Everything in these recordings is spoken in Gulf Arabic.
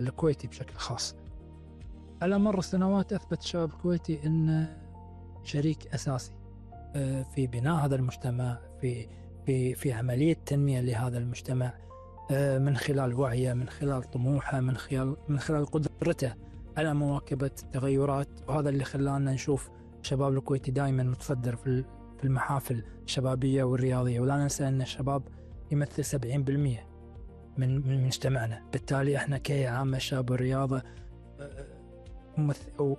الكويتي بشكل خاص. على مر السنوات أثبت الشباب الكويتي أن شريك أساسي في بناء هذا المجتمع، في عملية تنمية لهذا المجتمع، من خلال وعيه، من خلال طموحه، من خلال قدرته على مواكبة التغيرات. وهذا اللي خلانا نشوف الشباب الكويتي دائما متصدر في المحافل الشبابية والرياضية. ولا ننسى أن الشباب يمثل 70% من مجتمعنا. بالتالي احنا كعامة الشباب والرياضة أو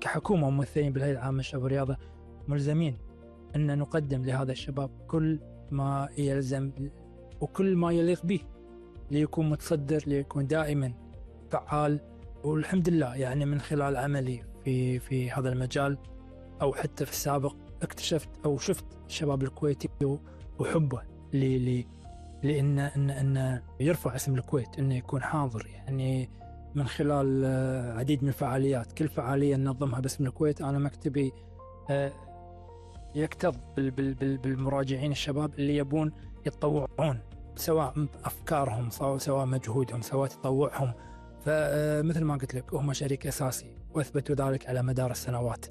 كحكومة ممثلين بالهيئة العامة للشباب والرياضة ملزمين أن نقدم لهذا الشباب كل ما يلزم وكل ما يليق به ليكون متصدر، ليكون دائما فعال. والحمد لله يعني من خلال عملي في هذا المجال أو حتى في السابق اكتشفت أو شفت الشباب الكويتي وحبه لأن يرفع اسم الكويت، أنه يكون حاضر. يعني من خلال عديد من الفعاليات، كل فعالية ننظمها باسم الكويت أنا مكتبي يكتظ بالمراجعين الشباب اللي يبون يتطوعون، سواء أفكارهم سواء مجهودهم سواء تطوعهم. فمثل ما قلت لك هم شريك أساسي وأثبتوا ذلك على مدار السنوات.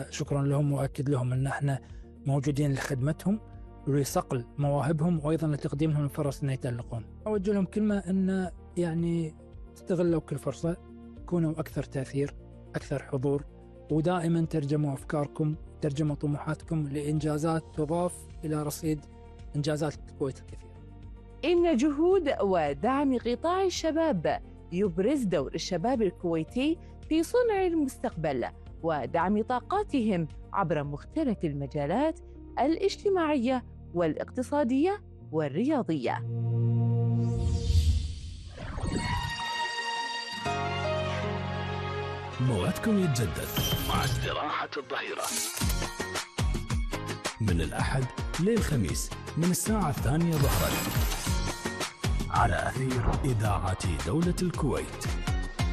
شكرا لهم وأكد لهم أن احنا موجودين لخدمتهم ولصقل مواهبهم وأيضا لتقديم لهم الفرص أن يتألقون. أوجه لهم كلمة أن يعني استغلوا كل فرصة، كونوا أكثر تأثير، أكثر حضور، ودائما ترجموا أفكاركم، ترجموا طموحاتكم لإنجازات تضاف إلى رصيد إنجازات الكويت الكثيرة. إن جهود ودعم قطاع الشباب يبرز دور الشباب الكويتي في صنع المستقبل ودعم طاقاتهم عبر مختلف المجالات الاجتماعية والاقتصادية والرياضية. موعدكم يتجدد مع استراحة الظهيرة من الأحد للخميس من الساعة 2 ظهرا على أثير إذاعة دولة الكويت.